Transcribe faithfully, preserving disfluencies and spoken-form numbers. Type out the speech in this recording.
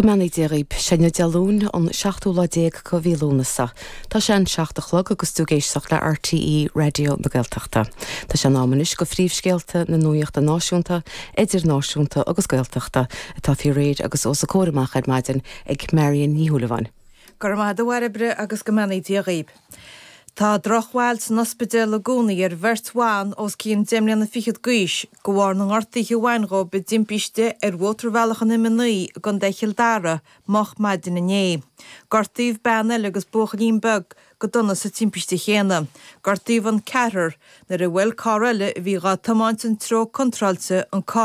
Go mbeannaí Dia dhaoibh, sé inniu Dé Luain an seachtú lá déag de mhí Lúnasa. Tá sé an seacht a chlog agus tú ag éisteacht le RTÉ Raidió na Gaeltachta. Tá sé in am anois do phríomhscéalta na nuachta náisiúnta, idirnáisiúnta agus Gaeltachta atá faoi réir agus os a comhair amach ar maidin ag Marion Ní Shúilleabháin. Go raibh maith agat a Bhairbre agus go mbeannaí Dia dhaoibh. Tá drochbhail san ospidéal i gcónaí ar bheirt bhan os cionn deich mbliana fichead d'aois de bharr na ngortuithe a bhain dhóibh i dtimpiste ar mhótarbhealach an M a naoi i gContae Chill Dara moch maidin inné. Gortaíodh bean eile agus buachaillín beag go dona sa timpiste chéanna. Gortaíodh an ceathrar nuair a bhuail carr eile a bhí dhá tiomáint an treo contráilte an carr